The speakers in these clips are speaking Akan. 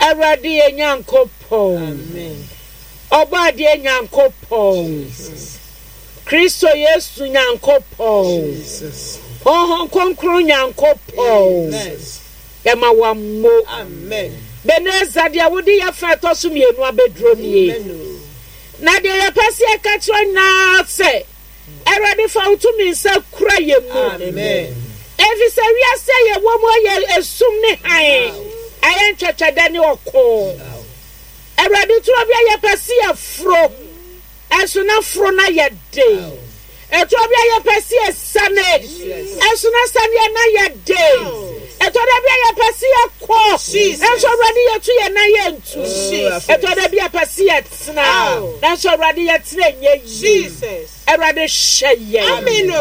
Awurade yɛ Nyankopɔn. Ɔbɔadeɛ Nyankopɔn. Kristo Yesu Nyankopɔn. Honhom Kronkron Nyankopɔn. Yɛma wo ammo. Beneza deɛ wode yɛ fa ɛtɔ so mmienu abɛduro nie. Na deɛ yɛpɛ sɛ yɛka kyerɛ nyinaa sɛ Awurade fa wo tumi nsa kura yɛn mu. Efisɛ wiase a yɛwɔ mu ayɛ esum ne hann, ayɛ ntwɛtwɛdɛ ne ɔko. Awurade turo bi a yɛpɛ sɛ yɛforo, ɛnso na foro no ayɛ den. Ɛtɔ bi a yɛpɛ sɛ yɛsane, ɛnso na saneɛ no ayɛ den. Ɛtɔ da bi a yɛpɛ sɛ yɛkɔ, ɛnso Awurade yɛtu yɛn nan yɛntu. Ɛtɔ da bi a yɛpɛ sɛ yɛtena, nanso Awurade yɛtena nyɛ yie. Awurade hyɛ yɛn. Amen o.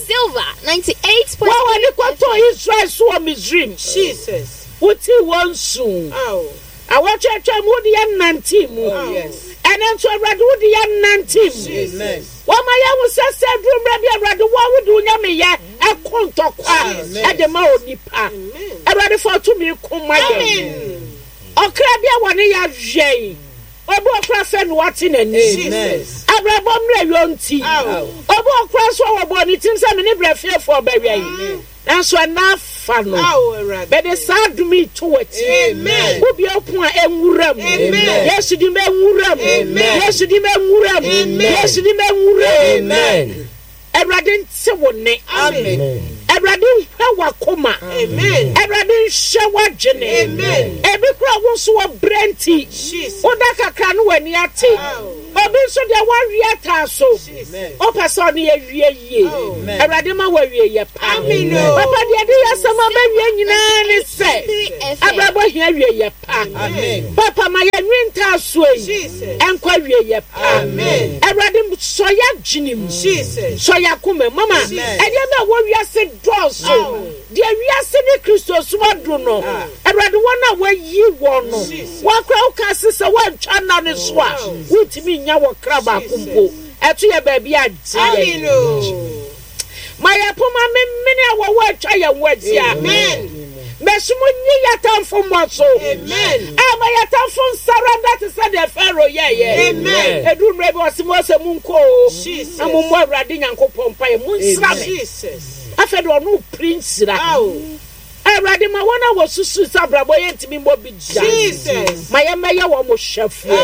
Silver 98.3 Wo a wɔde kɔtɔɔ Israel so wɔ Misraim. Jesus. Wotii wɔn su. Ao. Awɔtwe atwam wode yɛn nantee mu. Oh yes. Ɛnɛ nso Awurade wode yɛn nante mu. Jesus. Wɔma yɛhu sɛ sɛ aduru mmerɛ bi Awurade wo a wode wo nyameyɛ ɛko ntɔkwa ɛde ma onipa. Awurade fa tumi ko ma yɛn. Ɔkra bi a wɔne yɛ awɛn. Obi ɔkora fɛ no wate n'ani. Abrabɔ mmerɛ yɔ nti. Obi ɔkora nso a wɔbɔ ne tirim sɛ me ne brɛ fiefoɔ bɛwɛn. Nanso ɛna afa no. Mede saa adom yi to w'akyi. Wobue wo pon a ɛnwura mu. Yesu din bɛnwura mu. Yesu din bɛnwura mu. Yesu din bɛnwura mu. Awurade nte wo nne. Awurade nhwɛ w'akoma. Awurade nhwɛ w'adwene. Ebi kora wo nso wɔ brɛ nti, woda kakra no w'ani ate. Obi nso deɛ wawe ataa so. Wopɛ sɛ ɔne yɛ wie yie. Awurade ma wawie yɛ pa. Papa deɛ de yɛ asɛm abɛwie nyinaa ne sɛ abrabɔ hia wie yɛ pa. Papa ma yɛnwe ntaasoɔ yi ɛnkɔ awie yɛ pa. Awurade sɔ yɛ adwene mu. Sɔ yɛ akoma mu. Mama ɛdeɛ bɛ wɔ wiase dɔɔso. Deɛ wiase ne Kristosom adu no, Awurade wɔn a wɔayi wɔn no, wɔakora wo ka se sɛ woantwa nna no so a, wontumi nnya wɔ kra baako mpo. Ɛto yɛ baabi a gye yɛn. Ma yɛn poma memene a wɔwɔ atwa yɛn ho ahyia. Mɛsom nyi yɛn atamfo mmɔ so. A ma yɛn atamfo nsaranda te sɛ deɛ Farao yɛeɛ. Ɛduru mmerɛ bi ɔse Mose monkɔ o, na mommɔ Awurade Nyankopɔn mpaeɛ, monsra me. Afei de ɔno piri nhyira. Awurade ma wɔn a wɔsusu sɛ abrabɔ yɛ ntumi mmɔ bi da. Ma yɛmmɛyɛ wɔn hwɛfoɔ.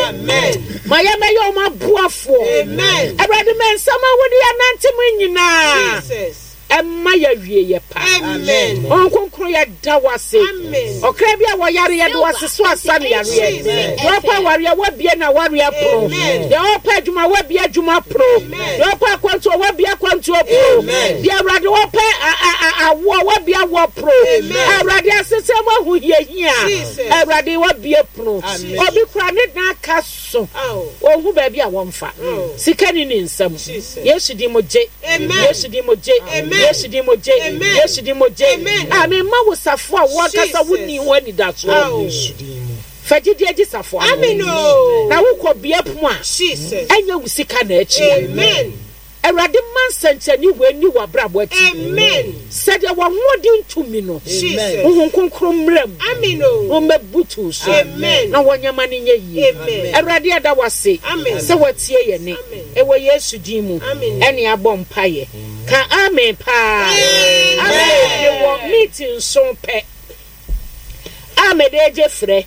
Ma yɛmmɛyɛ wɔn aboafoɔ. Awurade ma nsɛm a wode yɛnante mu nyinaa ɛma yɛawie yɛ pa. Honhom Kronkron yɛda wo ase. Ɔkra bi a wɔyare yɛde wo ase so asa ne yareɛ. Deɛ ɔpɛ awareɛ woabie na awareɛ pono. Deɛ ɔpɛ adwuma woabie adwuma pono. Deɛ ɔpɛ akwantuo woabie akwantuo pono. Deɛ Awurade wɔpɛ awoɔ woabie awoɔ pono. Awurade asetena mu ahohiahia Awurade woabie pono. Obi kura ne dan aka so ɔhu baabi a wɔmfa sika ni ne nsam. Yesu din mu gye. Yesu din mu gye. Yesu din mu gye. Yesu din mu gye. A mema wo safo a wɔankasa wonni ho anidasoɔ. Fa gyidie gye safo ano. Na wokɔ bea pum a ɛnyɛ wo sika na akyi. Awurade ma nsɛnkyerɛnne wei nni w'abrabɔ akyi. Sɛdeɛ w'ahoɔden tumi no, Honhom Kronkron mmra mu na ɔmmɛbutu so na wɔnyɛ ma no nyɛ yie. Awurade yɛda wo ase sɛ woatie yɛn nne. Ɛwɔ Yesu din mu ɛne abɔ mpaeɛ. Ka amen paa. Afei mewɔ meeting nson pɛ a mede regye frɛ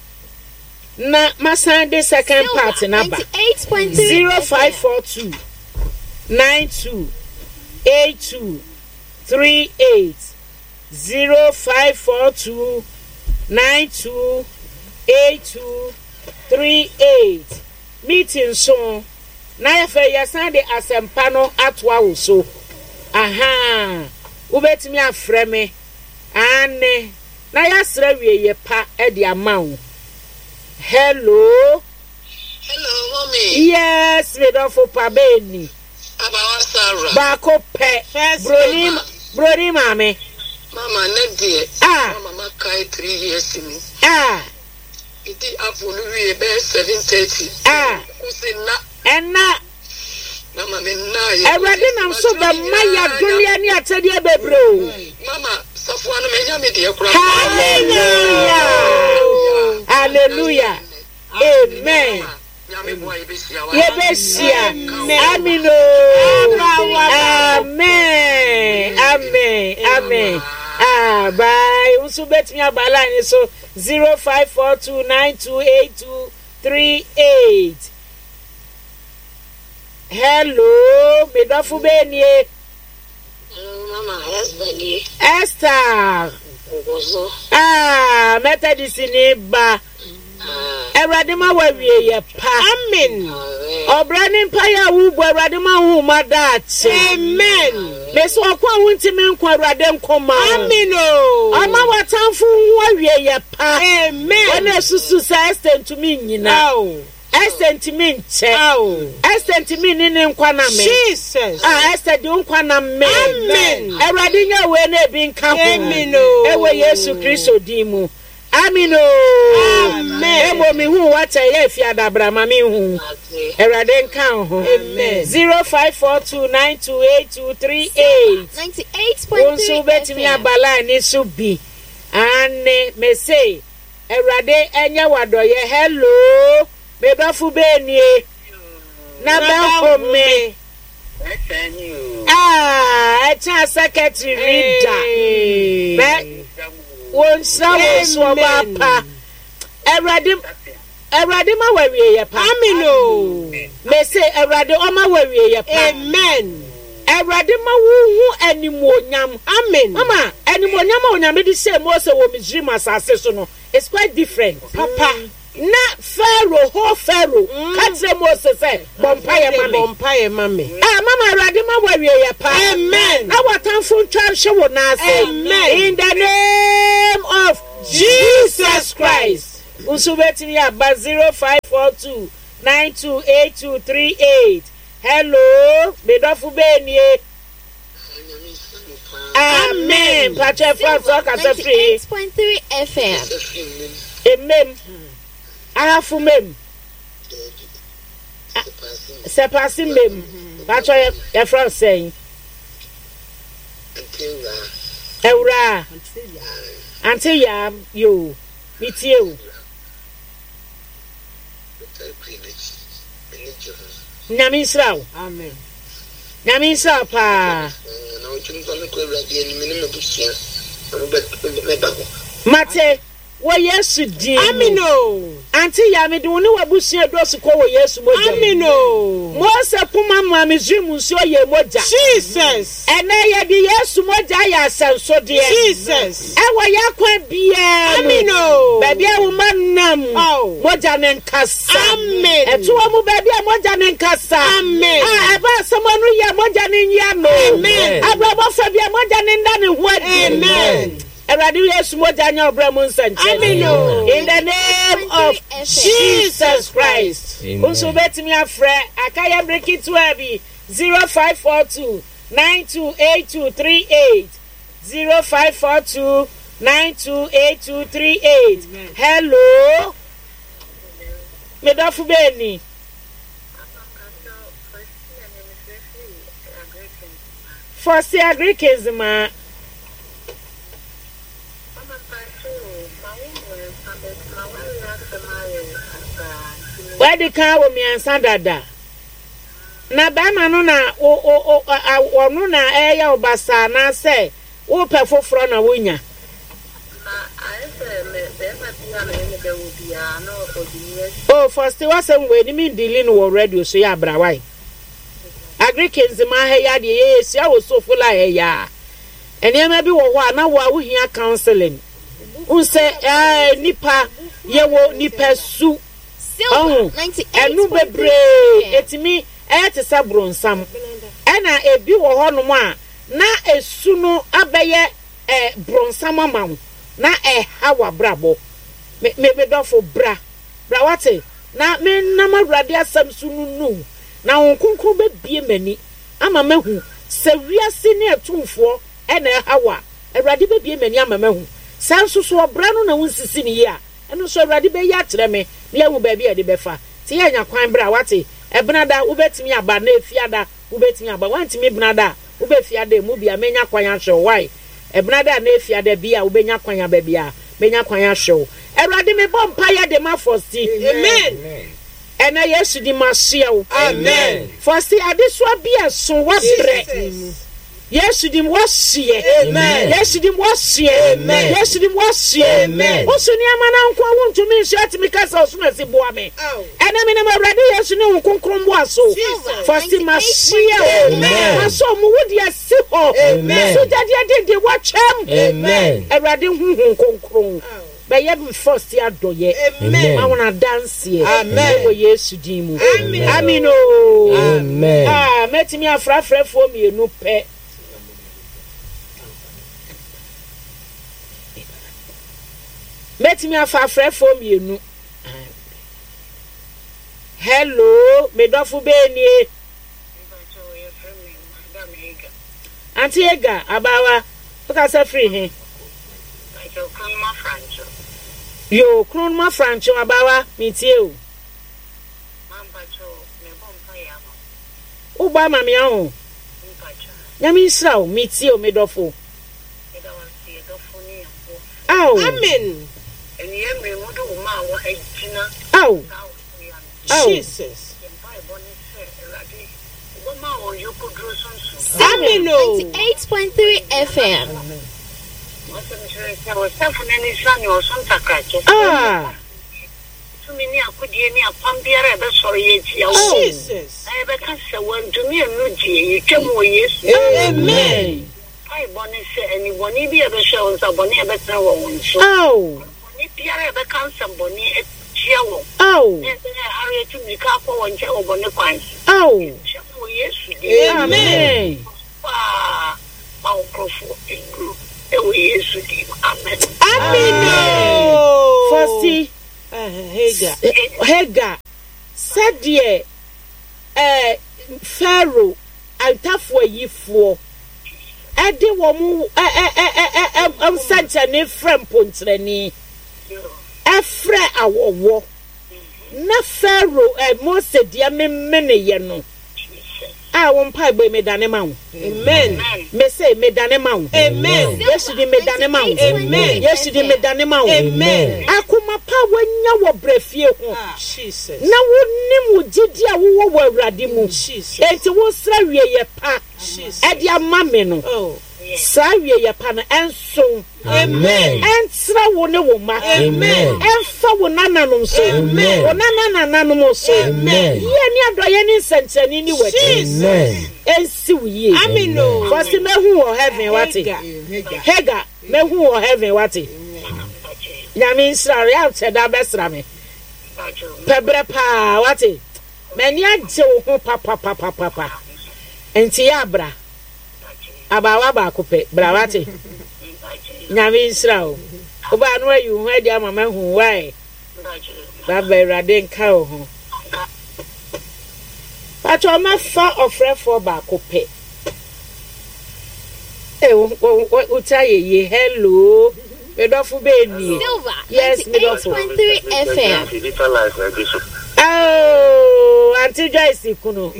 na masan de second part no aba. 0542 92 82 38 0542 92 82 38 meeting nson na afei yɛsan de asɛmpa no atoa wo so. Ahaa, wobɛtumi afrɛ me, aane, na yɛasrɛ awieeɛ pa de ama wo. Hello. Hello, mommy. Yes, me dɔfo pa bɛni. Abawa Sarah. Baako pɛ. Broni, broni maame. Mama, ne deɛ. Ah. Mama, makae 3 years ni. Ah. Medi apple no wie bɛyɛ 7:30. Ah. Kusi na. Ɛna. Mama me nna yɛ. Awurade nam so bɛma yɛ adoneɛ ne akyɛdeɛ bebree o. Mama, safoa no menya me deɛ koraa. Hallelujah. Hallelujah. Amen. Yɛbɛhyia. Amen oo. Amen. Amen. Amen. Ah, bye. Wo nso wobɛtumi aba line so 0542928238. Hello, me dɔfo bɛɛ nie. Mama Esther nie. Esther. Nkoso. Ah, Methodist ni ba. Awurade ma wawie yɛ pa. Amen. Ɔbrɛ ne mpaeɛ a wobɔ Awurade ma wo ma daakye. Amen. Mesi ɔko a wontumi nko Awurade nko ma wo. Amen o. Ɔma w'atamfo ho awie yɛ pa. Amen. Wɔn a esusu sɛ Esther ntumi nnyina. Ao. Esther ntumi nkyɛ. Ao. Esther ntumi nni ne nkwa na me. Jesus. Ah, Esther di wo nkwa na me. Amen. Awurade nya wei na ebi nka ho. Amen o. Ɛwɔ Yesu Kristo din mu. Amen o. Amen. Emo mi hu wakyɛ yɛ efi adabra ma mi hu. Awurade nka wo ho. Amen. 0542928238. Wo nso 98.3 wobɛtumi FM. aba line ne so bi. Ane mese Awurade ɛnyɛ wadɔyɛ. Hello. Me dɔfo bɛɛ nie. Na bɛhome. Ah, ɛkyɛn secretary reader. Bɛ wɔnhyira wɔn so ɔbaa pa. Awurade Awurade ma wawie yɛ pa. Amen o. Mese Awurade ɔma wawie yɛ pa. Amen. Awurade ma wohu animuonyam. Amen. Mama, animuonyam a Onyame de hyɛɛ Mose wɔ Misraim asase so no, it's quite different. Papa. Na Pharaoh, ho Pharaoh, ka kyerɛ Mose sɛ, bɔ mpaeɛ ma me. Bɔ mpaeɛ ma me. Ah, mama Awurade ma wawie yɛ pa. Amen. Na w'atamfo ntwa nhwe wo nan ase. Amen. In the name of Jesus Christ. Nso wobɛtumi aba 0542 928238. Hello, me dɔfo bɛɛ nie. Amen. Mpakyɛ France ɔkasa firi. 98.3 FM. Emem. Ahafo mem. Sɛpase mem. Mpakyɛ yɛfrɛ wo sɛn? Awuraa. Ante yaa yoo. Metie o. Nyame nhyira wo. Amen. Nyame nhyira wo paa. Mate wɔ Yesu din mu. Amen o. Ante ya mede wo ne w'abusua edosu kɔ wɔ Yesu mogya mu. Amen o. Mose poma maa Misraim nsuo yɛɛ mogya. Jesus. Ɛnnɛ yɛde Yesu mogya ayɛ asɛnsodeɛ. Jesus. Ɛwɔ yɛn akwan biara mu. Amen o. Baabi a wo mma nam. Oh. Mogya no nkasa. Amen. Ɛto wɔn mu baabi a mogya no nkasa. Amen. A ɛba asɛm ano yɛ mogya no nyi ano. Amen. Abrabɔ fa bi a mogya no nda ne ho adi. Amen. Awurade Yesu mogya nyɛ ɔbrɛ mu nsɛnkyerɛnne. Amen o. In the name of Jesus Christ. Nso wobɛtumi afrɛ aka yɛ mmere ketewa bi 0542 928238 0542 928238. Hello. Medɔfo bɛɛ ni. Fɔsi Agrikins ma. Wadi kan wɔ mmiɛnsa dada. Na bɛrima no na wo wo wo ɔno na ɛyɛ wo basaa anaasɛ wopɛ foforɔ na wonya. Oh, first wasɛm wei ni mi dili no wɔ radio so yɛ abrawae. Agric nzema ha yi adeɛ yɛ yɛsua wɔ sofo la ha yi a. Nneɛma bi wɔ hɔ a na wo a wohia counseling. Wohu sɛ ɛɛ nipa yɛwɔ nipa su. Ɔho ɛno bebree etumi ɛyɛ te sɛ bronsam. Ɛna ebi wɔ hɔnom a na esu no abɛyɛ ɛ bronsam ama wo na ɛha w'abrabɔ. Me me me dɔfo bra bra wate na menam Awurade asɛm so nunu na Honhom Kronkron bɛbue m'ani ama mahu sɛ wiase ne atumfoɔ na ɛha wo a, Awurade bɛbue m'ani ama mahu. Sɛ nso so ɔbra no na wonsisi no yie a, ɛno nso Awurade bɛyi akyerɛ me na yɛahu baabi a yɛde bɛfa. Nti yɛanya kwan bra, woate? Ɛbenada wobɛtumi aba anaa Efiada wobɛtumi aba. Woantumi Benada a, wobɛ Fiada emu bi a mɛnya kwan ahwɛ wo. Wai? Ɛbenada anaa Efiada bi a wobɛnya kwan aba biara. Menya kwan ahwɛ wo. Awurade mebɔ mpaeɛ de ma Fosti. Amen. Ɛnɛ Yesu di masoɛ wo. Amen. Fosti adesoa bi a ɛso wabrɛ. Jesus. Yesu dim wasoɛ. Amen. Yesu dim wasoɛ. Amen. Yesu dim wasoɛ. Amen. Woso nneɛma na nko a wontumi nso atumi ka sɛ ɔsom asi boa me. Aw. Ɛnɛ menim Awurade Yesu ne wo kronkron boa so. Jesus. Fosti masoɛ wo. Amen. Masɔ mu wo de asi hɔ. Amen. So gyadeɛ dende wakyɛm. Amen. Awurade huhu kronkron. Aw. Bɛyɛ Fosti adɔyɛ. Amen. Ma wɔn adanseɛ. Amen. Ɛwɔ Yesu din mu. Amen. Amen o. Amen. Ah, mɛtumi afrafrafoɔ mmienu pɛ. Mɛtumi afa afrɛfoɔ mmienu. Hello, me dɔfo bɛɛ nie. Auntie Ega, abaawa, wokasa firi he? Yo, Kronoma Francho, abaawa, metie o. Wobɔ ama me aho. Nyame nhyira wo, metie o, me dɔfo. Aw. Amen. Aw. Aw. Jesus. Amen o. 98.3 FM. Ah. Jesus. Amen. Aw. Aw. Aw. Amen. Amen o. Fosti. Hagar. Hagar. Sɛdeɛ eh, Pharaoh ntafoayifoɔ ɛde wɔn nsɛnkyerɛnne frɛ mponkyerɛni, ɛfrɛ awɔwɔ, na Pharaoh eh, Mose deɛ memeneyɛ no a wo mpaebɔ yi medane ma wo. Amen. Mese medane ma wo. Amen. Yesu di medane ma wo. Amen. Yesu di medane ma wo. Amen. Akoma pa a woanya wɔ brɛ fie ho. Jesus. Na wonim wo gyidi a wowɔ wɔ Awurade mu. Jesus. Enti wosrɛ wieyɛ pa Jesus. ɛde ama me no. Oh. Saa wieyɛ pa no ɛnso. Amen. Ɛntra wo ne wo mma. Amen. Ɛmfa wo nananom so. Amen. Wo nananananom so. Amen. Yie ne adɔyɛ ne nsɛnkyerɛnne ni w'akyi. Jesus. Ɛnsi wo yie. Amen o. Fɔsi mɛhu wɔ heaven wate. Hagar. Hagar mɛhu wɔ heaven wate. Nyame nhyira wo. Yɛ akyɛ da bɛsra me. Pɛbrɛ paa wate. M'ani agye wo ho papapapapa. Nti yɛ abra. Abaawa baako pɛ. Bra wate. Nyame nhyira wo. Wobaa no ayi wo ho adi ama mahu wae. Baba Awurade nka wo ho. Pakyɛ mɛfa ɔfrɛfoɔ baako pɛ. Ee, wo ti ayɛ yie. Hello. Me dɔfo bɛɛ nie. Silver Yes, me dɔfo. 98.3 FM. Oh, Auntie Joyce kunu.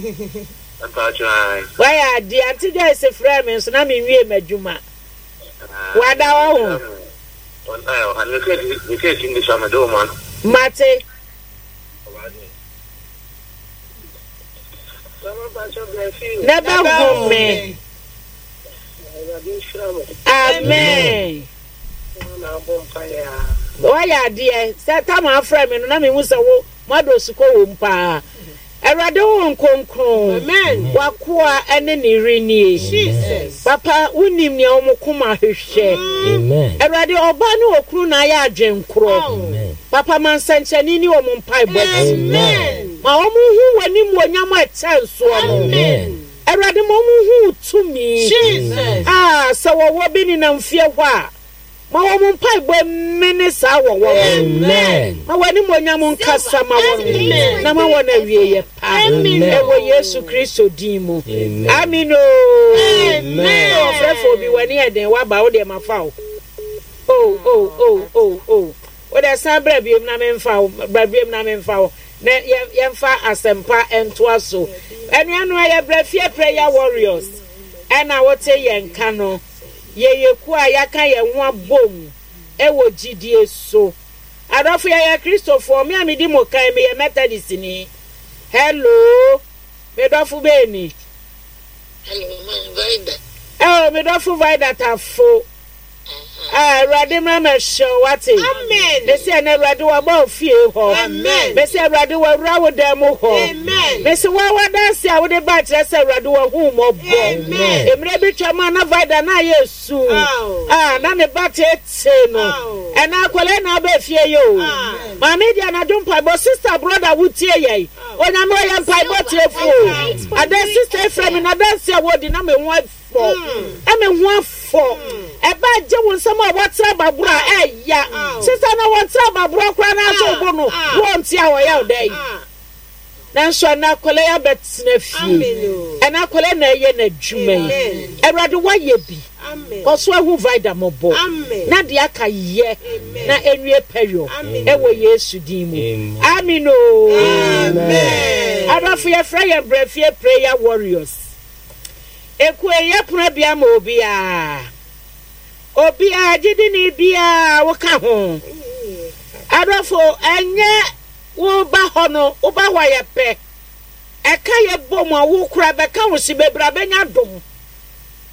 Wayɛ adeɛ. Auntie Joyce frɛ me nso na menwie m'adwuma. Wada wɔ ho. Mate. Na bɛhu me. Amen. Wayɛ adeɛ sɛ tam afrɛ me no na mehu sɛ wo moadɔ sukɔ wɔ mu paa. Awurade wo nkronkron. Amen. Wakoa ne ne yere nie. Jesus. Papa wonim nea wɔn koma hwehwɛ. Amen. Awurade ɔbaa ne okunu na ayɛ adwenkorɔ. Amen. Papa ma nsɛnkyerɛnne ni wɔn mpaebɔ akyi. Amen. Ma wɔn hu w'animuonyam a ɛkyɛn soɔ no. Amen. Awurade ma wɔn hu wo tumi. Jesus. Ah, sɛ wɔwɔ bi nenam fie hɔ a, ma wɔn mpaebɔ mmene saa wɔwɔ no. Amen. Ma w'animuonyam nkasa ma wɔn Amen. na ma wɔn awieyɛ pa. Amen. Ɛwɔ Yesu Kristo din mu. Amen. Amen o. Amen. Ɔfrɛfo bi w'ani yɛ den waba wo deɛ ma fa wo. Oh oh oh oh oh. Wo deɛ san bra biom na memfa wo bra biom na memfa wo na yɛmfa asɛmpa ntoa so. Anuanom ɛyɛ brɛ fie prayer warriors ɛna wote yɛn ka no. Yɛyɛ kuo a yɛaka yɛn ho abom. wɔ gyidie so. Adɔfo yɛyɛ Kristofoɔ, me a medi mo kan meyɛ Methodistni. Hello, me dɔfo bɛn ni? Hello, ma Vida. Oh, me dɔfo Vida Tafo. Ah, Awurade mmra mɛhyɛ wo wate. Amen. Mesi ɛnɛ Awurade waba wo fie hɔ. Amen. Mesi Awurade wawura wo dan mu hɔ. Amen. Mesi wa wadanse a wode ba kyerɛ sɛ Awurade wahu wo mmɔbɔ. Amen. Mmerɛ bi twam a na Vida na ayɛ su. Ah, na ne ba teetee no. Ɛnɛ akwadaa na aba fie yi o. Maame di anadwo mpaebɔ sister brother wotie yɛn. Onyame ɔyɛ mpaebɔ tiefo o. Ada sister efrɛ me na danse a wɔdi na me ho afɔ. Na me ho afɔ. Ɛba gye wo nsɛm a wɔtra baboro a ɛya. Sister na wɔntra baboro koraa na ato bo no. Wɔnte a ɔyɛ ɔdɛ yi. Nanso ɛnɛ akwadaa yi abɛtena fie. Ɛnɛ akwadaa na ɛyɛ n'adwuma yi. Awurade wayɛ bi. Kɔ so ahu Vida mmɔbɔ. Na deɛ aka yɛ na enwie pɛyɔ ɛwɔ Yesu din mu. Amen o. Adɔfo yɛfrɛ yɛn Brɛfie Prayer Warriors. Ekuo yi yɛpono abia ma obiara. Obiara gyidini biara woka ho. Adɔfo ɛnyɛ Wo ba hɔ no, wo ba hɔ a yɛpɛ. Ɛka yɛ bɔ mu a, wo kora bɛka wo se bebree abɛnya dom.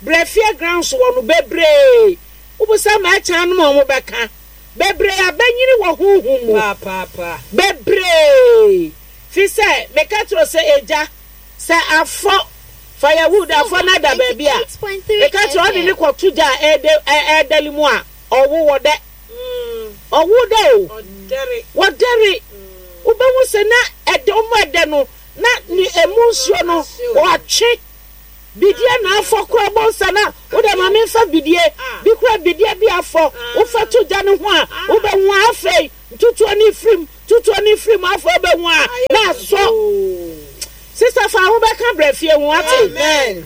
Brɛ fie grounds wɔ no bebree. Wo bisa ma ɛkyan nom a wɔn bɛka. Bebree abɛnyini wɔ honhom mu. Bebree. Fi sɛ, meka kyerɛ wo sɛ egya, sɛ afɔ, firewood afɔ no ada baabi a, meka kyerɛ wo ɔde ne kɔto gya a ɛɛdɛle mu a, ɔwo wɔ dɛ. Ɔwo dɛ o. Wɔdɛre. Wobɛhu sɛ na ɛdɛ ɔmo ɛdɛ no na ne emu nsuo no wɔatwe bidie na afɔ kora bɔ nsa na wodɛ ma memfa bidie bi kora bidie bi afɔ wofa to gya no ho a wobɛhu a afei ntutuo no firim tutuo no firim afei wobɛhu a na asɔ. Sista fa ho bɛka brɛ fie ho ate.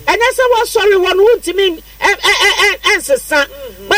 Ɛnyɛ sɛ wɔsɔre hɔ no wontumi nsesa.